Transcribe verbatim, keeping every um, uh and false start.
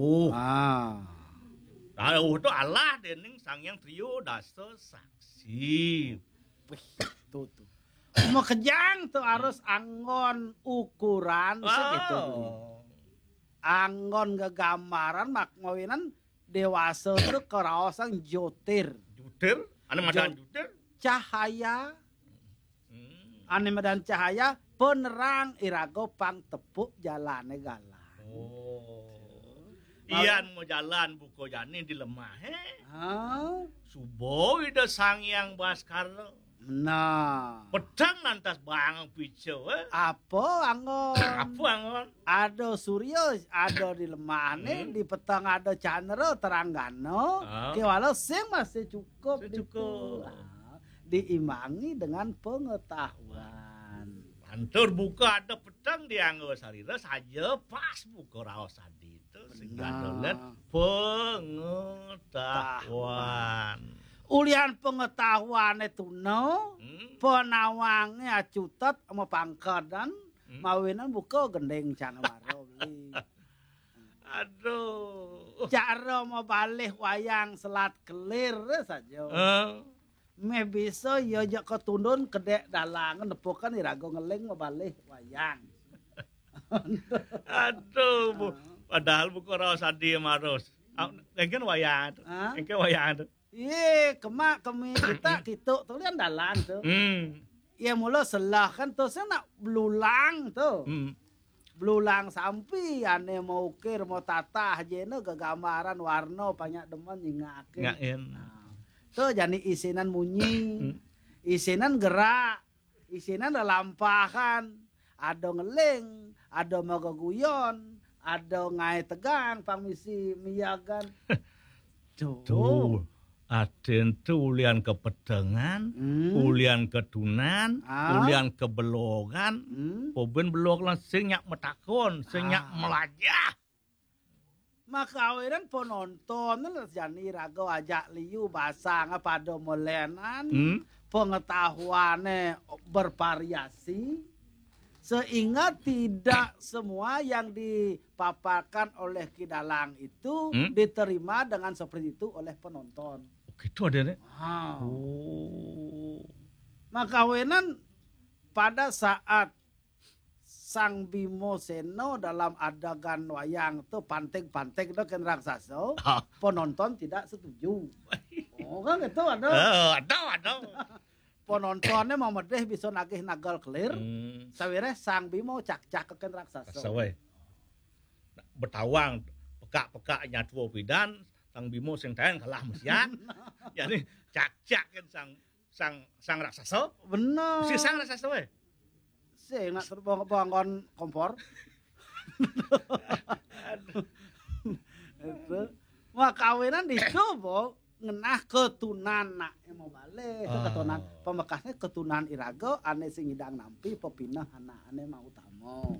Oh. Ah. Rauh tu alah dening Sang Hyang Triyo Dasa Saksi. Wih, tuh, tuh. Makejang tuh harus anggon ukuran segitu. Oh. Anggon gegambaran mak mawinan dewasa tuh keraosan jotir. Jutir? Ane madan Jot- jutir? Cahaya. Hmm. Ane madan cahaya penerang iraga pang tepuk jalane galang. Oh. Iyan mau jalan buka jani di lemah, eh? Ha? Suba Ida Sang Hyang Baskara. Nah. Pedang lantas bang pica, eh? Apa anggon? Apa anggon? Ada surya, ada di lemahne, hmm, di peteng ada candra teranggana. Ah. Kewala sing masih cukup. Sing cukup. Ditu. Ah, diimbangi dengan pengetahuan. Lantur buka ada peteng dianggo sarira saja pas buka raos adi itu sing benar. Pengetahuan. Ulian pengetahuane tuna, hmm, penawange acutet ama pangkedan, hmm, mawinan buka gending canwara beli. Aduh. Cara mabalih wayang selat kelir saja. Eh. Meh bisa ya jak ketundun kedek dalangan nepukan iraga ngeling mabalih wayang. Aduh, bu. Ah. Padahal buka raos adi marus. Ah, engken wayang tu. Ah? Engken wayang tu. Iye, kemak kemi kita kitu tu lian dalan tu. Hmm. Iye mula selah kan tu sing nak belulang tu. Hmm. Belulang sampi ane mau ukir, mau tatah jena gegambaran warna banyak demen nyingake. Ngain. Nah, tu jani isinan munyi. Hmm. Isinan gerak, isinan lelampahan, ada ngeling, ada mageguyon, ada ngae tegang, pang misi miyagan. Tuh. Tuh, aden tuh ulian kepedengan, hmm, ulian ketunan, ah, ulian kebelogan, hmm, poben belog lan sing nyak metakon, sing nyak, ah, melajah. Makawinan penonton jani raga ajak liu basang pada melenan, hmm, pengetahuannya bervariasi, sehingga tidak semua yang dipaparkan oleh Ki Dalang itu, hmm, diterima dengan seperti itu oleh penonton. Oh, gitu ada nih. Ah. Oh. Makawinan pada saat Sang Bimo Seno dalam adegan wayang tu panting-panting tu ken raksasa, ah, penonton tidak setuju. Oh, kan gitu ada. Eh, ada, ada. Penontonnya mau medeh bisa nagih nagal kelir. Hmm. Sawireh Sang Bimo cak-cak ken raksasa. Raksasa, weh. Betawang, pekak-pekak nyatua pidan, Sang Bimo sing taen kalah mesian. Jadi cak-cak ken sang, sang, sang raksasa. Bener. Si sang raksasa, weh. Sing nak terbang-bangon kompor. Aduh. Itu. Wah, kawinan di itu, Bo, ngenah ketunan nak mau balik, itu, oh, ketunan. Pamekasnya ketunan iraga, ane sing ngidang nampi, pepineh anak ane mau utama.